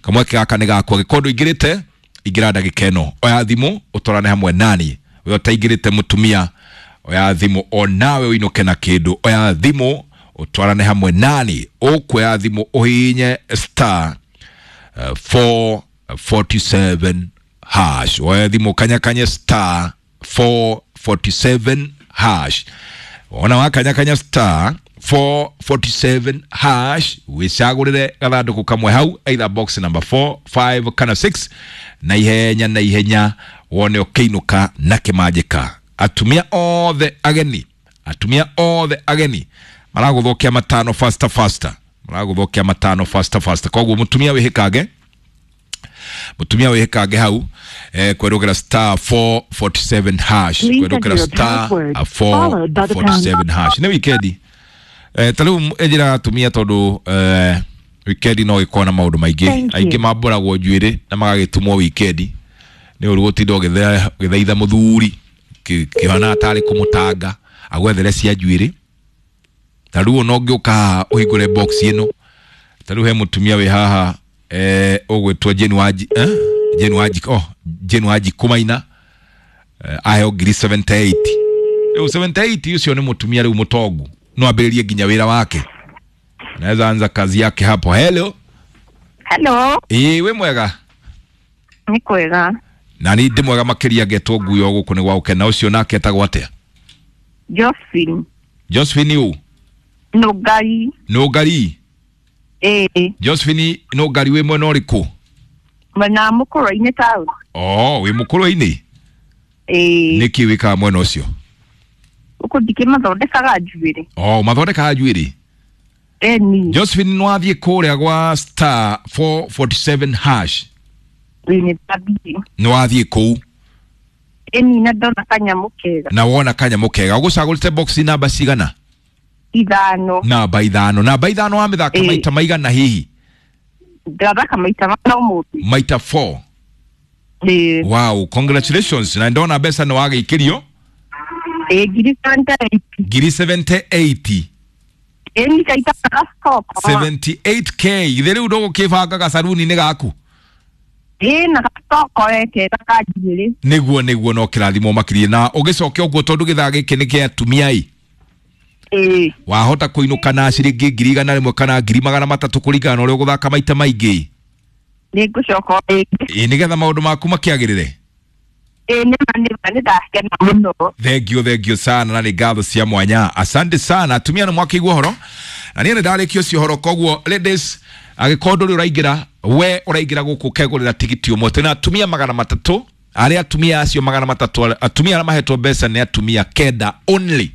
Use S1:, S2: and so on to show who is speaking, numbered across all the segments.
S1: Kamweke gaka nĩ gaku, angĩkorwo ndũingĩrĩte ingĩra ndagĩka ĩno, oya thimũ ũtwarane hamwe nani. We ũtaingĩrĩte mũtumia, oya thimũ onawe ũinũke na kĩndũ. Oya thimũ ũtwarane hamwe nani, ũkuoya thimũ ũhihinye star 447 hash. Oya thimũ kanyakanye star 447 hash. Wona wakanyakanya star 447 hash, wicagũrĩre gathandũkũ kamwe hau, either box number 4, 5 kana 6, na ihenya na ihenya wone ũkĩinũka na kĩmanjĩka. Atumia othe ageni, atumia othe ageni maragũthũkia matano faster faster, maragũthũkia matano faster faster. Koguo mũtumia wĩhĩkange, mũtumia wĩhĩkange hau kwerũgĩra star 447 hash,
S2: Please enter
S1: kwerũgĩra
S2: your
S1: star
S2: password, followed by the pound.
S1: 447 hash. Nĩ wikendi ta rĩu ĩnjĩraga atumia tondũ wikendi no ĩkorwo na maũndũ maingĩ.
S2: Thank you.
S1: Aingĩ mambũragwo njuĩrĩ na magagĩtumwo wikendi nĩ ũru gũtinda ũgĩthaitha mũthuri kĩhana tarĩ kũmũtanga agwethere cia njuĩrĩ. Ta rĩu ona ũngĩũka haha ũhingũre box ĩno, ta rĩu he mũtumia wĩ haha ũgwĩtwo Jane Wanji, eh? Jane Wanji, oh, Jane Wanji Kũmaina, aheo ngiri 78. Rĩu 78 ũcio nĩ mũtumia rĩu mũtongu, no ambĩrĩrie nginya wĩra wake, anaweza anza kazi yake hapo. Hello.
S3: Hello,
S1: Ĩĩ, wĩ mwega?
S3: nĩ kwega.
S1: Na ni ndĩ mwega makĩria, ngetwo nguyo gũkũ nĩ gwa gũkena. Ũcio nake etagwo atĩa?
S3: Josephine.
S1: Josephine ũ?
S3: Nũngari.
S1: Nũngari?
S3: Ĩĩ.
S1: Josephine Nũngari, wĩ mwena ũrĩkũ?
S3: Mwena wa Mũkũrwe-inĩ town.
S1: Oh, wĩ Mũkũrwe-inĩ?
S3: Ĩĩ.
S1: Nĩkĩ wĩkaga mwena ũcio?
S3: Gũkũ ndikĩmathondekaga njuĩrĩ.
S1: Oh, mathondekaga njuĩrĩ?
S3: Ĩni.
S1: Josephine, nĩwathiĩ kũrĩa gwa star 447 hash?
S3: Ĩĩ, nĩ ndathiĩ.
S1: Nĩwathiĩ kũu?
S3: Ĩni, na ndona kanyamũ kega.
S1: Na wona kanyamũ kega. Ũgũcagũrĩte box namba cigana?
S3: 5.
S1: Namba 5. Namba 5 wamĩthaka
S3: Ĩĩ.
S1: maita maigana hihi?
S3: Ndathaka maita mana ũmũthĩ.
S1: Maita 4?
S3: Ĩĩ.
S1: Wow, congratulations, na ndona mbeca nĩ wagĩikĩrio.
S3: Ĩĩ, ngiri 78.
S1: Ngiri 78?
S3: Ĩni, kaita gacoko.
S1: 78K. Githĩ rĩu ndũgũkĩbanga gacaruni-inĩ gaku?
S3: Ĩĩ, na gacoko kega ka njuĩrĩ.
S1: Nĩguo nĩguo, no kĩrathimo makĩria na ũgĩcoke ũguo tondũ gĩthaa gĩkĩ nĩ kĩa atumia ĩ.
S3: Ĩĩ.
S1: Wahota kũinũka na ciringi 100,000 kana 300,000 kũringana na ũrĩa ũgũthaka maita maingĩ.
S3: Nĩ ngũcoka rĩngĩ.
S1: Ĩ, nĩgetha maũndũ maku makĩagĩrĩre.
S3: Ĩĩ, nĩma nĩma, nĩ ndakena mũno.
S1: Thengio, thengio sana, na nĩ ngatho cia mwanya, asante sana. Atumia nĩ mwakĩigua ũhoro na niĩ nĩ ndarĩkia ũcio ũhoro. Koguo ladies, angĩkorwo ndũrĩ ũraingĩra, we ũraingĩra gũkũ ũkegũrĩra tigiti ũmwe. Twĩna atumia 300, arĩa atumia acio 300, atumia arĩa mahetwo mbeca nĩ atumia 9 only.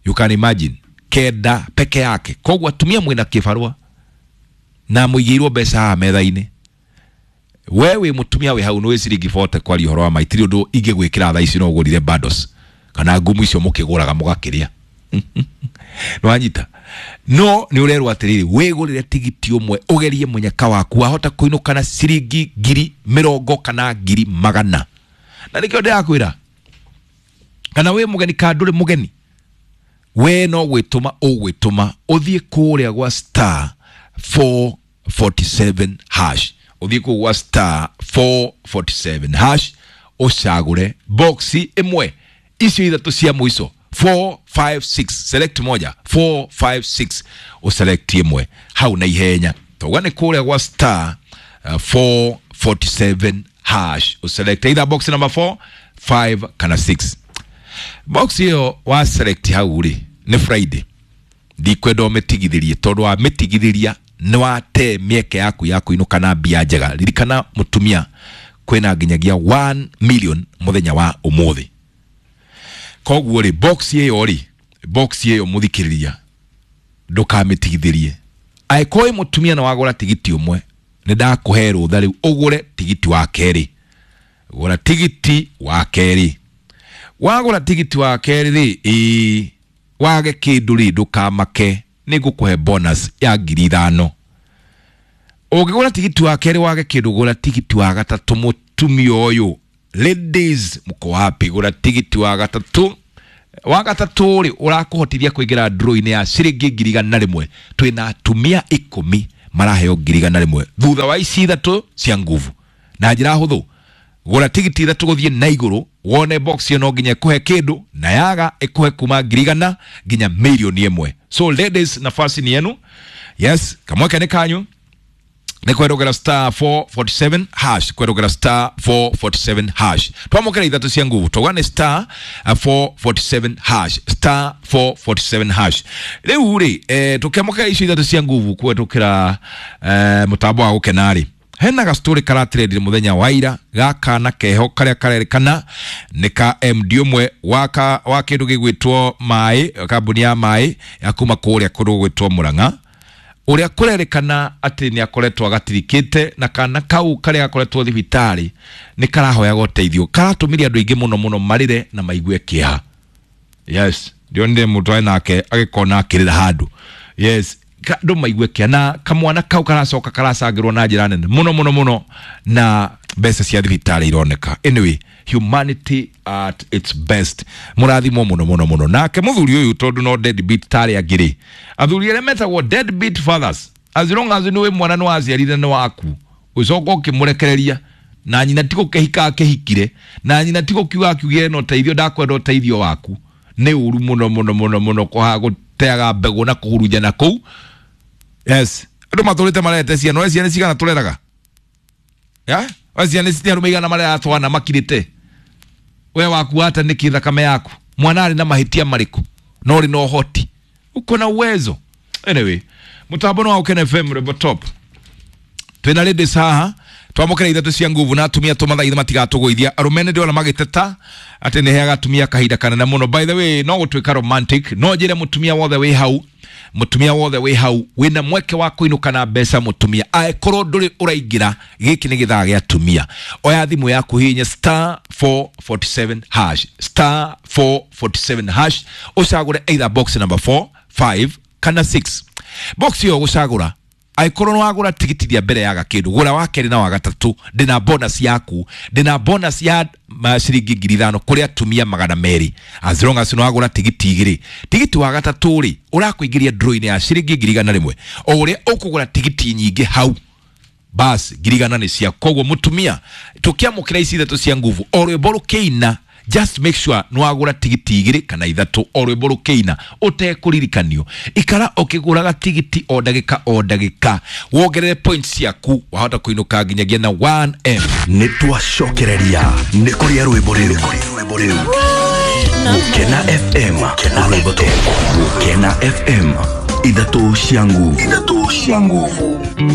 S1: You can imagine, 9 peke yake. Koguo atumia mwĩna kĩbarũa na mũigĩirwo mbeca haha metha-inĩ. We wĩ mũtumia wĩ hau nĩ wĩ ciringi 40, kwaria ũhoro wa ma itirĩ ũndũ ingĩgwĩkĩra thaa ici, no ũgũrire bundles kana ngumu icio mũkĩgũraga mũgakĩrĩa, nĩwanyita. No nĩ ũrerwo atĩrĩrĩ, wĩgũrĩre tigiti ũmwe ũgerie mũnyaka waku, wahota kũinũka na ciringi 20,000 kana 100,000. Na nĩkĩo ndĩrakwĩra, kana wĩ mũgeni kana ndũrĩ mũgeni, we no gwĩtũma ũgwĩtũma ũthiĩ kũrĩa gwa star 447 hash, ũthiĩ kũu gwa star 447 hash, ũcagũre boxi ĩmwe icio ithatũ cia mũico, 4 5 6, select moja, 4 5 6, ũselect ĩmwe hau na ihenya. Tauga nĩ kũrĩa gwa star 447 hash, ũselect either box number 4, 5 kana 6. Box ĩyo wa select hau rĩ, nĩ Friday, ndikwenda ũmĩtigithĩrie tondũ wamĩtigithĩria nĩ wate mĩeke yaku ya kũinũka na mbia njega. Ririkana mũtumia, kwĩna nginyagia 1 million mũthenya wa ũmũthĩ. Koguo rĩ, box ĩyo rĩ, box ĩyo mũthikĩrĩria, ndũkamĩtigithĩrie. Angĩkorwo wĩ mũtumia na wagũra tigiti ũmwe, nĩ ndakũhe rũtha rĩu ũgũre tigiti wa kerĩ. Gũra tigiti wa kerĩ. Wagũra tigiti wa kerĩ rĩ, ĩĩ, wage kĩndũ rĩ, ndũkamake, nĩ ngũkũhe bonus ya 5,000. Ũngĩgũra tigiti wa kerĩ wage kĩndũ, gũra tigiti wa gatatũ. Mũtumia ũyũ, ladies, mko wapi? Gũra tigiti wa gatatũ. Wa gatatũ rĩ, ũrakũhotithia kũingĩra draw-inĩ ya ciringi 100,000. Twĩna atumia 10. maraheo 100,000 thutha wa ici ithatũ cia nguvu. Na njĩra hũthũ, gũra tigiti ithatũ gũthiĩ na igũrũ wone box ĩyo no nginya ĩkũhe kĩndũ, na yaga ĩkũhe kuma 100,000 nginya 1,000,000. So ladies, nafasi ni yenu. Yes, kamweke nĩ kanyu nĩ kwerũgera star 447 hash, kwerũgera star 447 hash. Twamũkĩra ithatũ cia nguvu, twauga nĩ star 447 hash, star 447 hash. Rĩu rĩ, tũkĩamũkĩra icio ithatũ cia nguvu kũhetũkĩra mũtambo wa gũkena rĩ, hena gastori karatrendire muthenya wa ira ga kana keho karia karerikana nĩ ka MD ũmwe wa kĩndũ gĩgwĩtwo maĩ, kambuni ya maĩ ya kuma kũrĩa kũndũ gũgwĩtwo Murang'a, ũrĩa kũrerĩkana atĩ nĩ akoretwo agatirikĩte, na kana kau karĩa gakoretwo thibitarĩ nĩ karahoyaga ũteithio, karatũmire andũ aingĩ mũno mũno marĩre na maigue kĩeha. Yes, ndionire mũndũ arĩ nake agĩkona akĩrĩra handũ. Yes, andũ maigue kĩeha, na kamwana kau karacoka karacangĩrwo na njĩra nene mũno mũno mũno, na mbeca cia thibitarĩ ironeka. Anyway, humanity at its best. Mũrathimwo mũno mũno mũno. Nake mũthuri ũyũ tondũ no deadbeat tarĩ angĩ rĩ, athuri arĩa metagwo deadbeat fathers, as long as nĩwe mwana nĩ waciarire nĩ waku, ũcoka ũkĩmũrekereria, na nyina ti gũkĩhika akĩhikire, na nyina ti gũkiuga akiugire na ũteithio, ndakwenda ũteithio waku. Nĩ ũru mũno mũno mũno mũno kũhaga gũteaga mbegũ na kũhurunjana kũu. Yes, andũ matũrĩte marete ciana, we ciana cigana tũreraga? Ya? We ciana nĩ arũme igana marera twana makirĩte. We waku ata nĩkĩ thakame yaku? Mwana arĩ na mahĩtia marĩkũ? No ũrĩ na ũhoti, uko na uwezo. Anyway, mũtambo nĩ wa Gũkena FM Rwĩmbo Top. Twĩna ladies haha twamũkĩra ithatũ cia nguvu, na atumia tũmathaithe matigatũgũithia. Arũme nĩ ndĩrona magĩteta atĩ nĩ heaga atumia kahinda kanene mũno. By the way, no gũtuĩka romantic, no njĩre mũtumia wothe wĩ hau, mũtumia wothe wĩ hau wĩna mweke wa kũinũka na mbeca mũtumia, angĩkorwo ndũrĩ ũraingĩra, gĩkĩ nĩ gĩthaa gĩa atumia. Oya thimũ yaku, hihinya star 447 hash, star 447 hash, ũcagũre either box number 4, 5 kana 6. Box ĩyo ũgũcagũra, angĩkorwo nĩ wagũra tigiti rĩa mbere yaga kĩndũ, gũra wa kerĩ na wa gatatũ, ndĩna bonus yaku, ndĩna bonus ya ciringi 5,000 kũrĩ atumia 200, as long as nĩ wagũra tigiti igĩrĩ. Tigiti wa gatatũ rĩ, ũrakũingĩria draw-inĩ ya ciringi 100,000. O ũrĩa ũkũgũra tigiti nyingĩ hau, bas 100,000 nĩ cia. Koguo mũtumia, tũkĩamũkĩra ici ithatũ cia nguvu, o rwĩmbo rũkĩina, just make sure nĩ wagũra tigiti igĩrĩ kana ithatũ, o rwĩmbo rũkĩina ũtekũririkanio. Ikara ũkĩgũraga tigiti o ndagĩka o ndagĩka, wongerere points ciaku, wahota kũinũka nginyagia na 1M.
S2: Nĩ twacokereria nĩ kũrĩa rwĩmbo rĩu. Gũkena FM, rwĩmbo Top. Gũkena FM, ithatũ cia nguvu.